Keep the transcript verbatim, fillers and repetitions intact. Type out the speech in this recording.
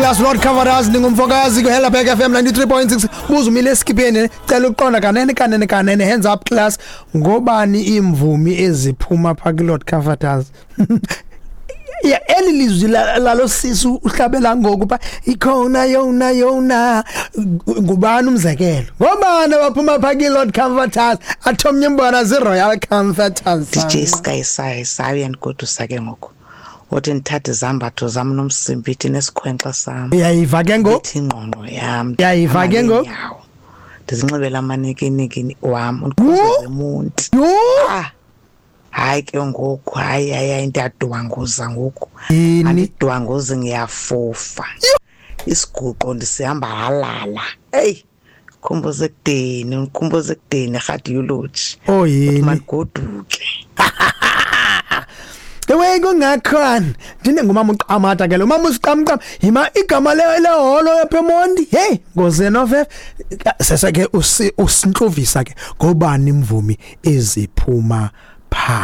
Class Lord Coverers, ndingumfokazi ku Helderberg F M ninety-three point six. Buza umile eskipheni, cela uqonda kanene kanene kanene. Hands up, class, ngobani imvumi eziphuma pha ku Lord Comforters? Ya, eli lizwi la- lalo sisu uhlabela ngoku pha ikhona yona yona, ngubani umzekelo? Ngobani abaphuma pha ku Lord Comforters? Athomnye mbona zi Royal Comforters. D J Sky Sai saye yandigodusa ke ngoku, uthi ndithathe izambatho zam nomsimbithi nesikhwenkxa sam. Uyayiva ke ngoku? Ithi ingqongqo yam. Uyayiva ke ngoku? Nyawo ndizinxibele amanikiniki wam, undikhumbuze eMonti. Yho! Ah, hayi ke ngoku, hayi hayi hayi, ndiyadwanguza ngoku. Yini? Andidwanguzi, ngiyafufa isiguqo, ndisihamba halala. Eyi, khumbuze ekudeni, undikhumbuze ekudeni, radiology. Oh, yini? Mandigoduke. Ewe, kungakhona ndine ngumama uQamata ke lo mama usiqamqam yima igama le leholo yapha eMonti. Hey, ngozeno seseke usintluvisa ke, ngobani imvumi eziphuma pha?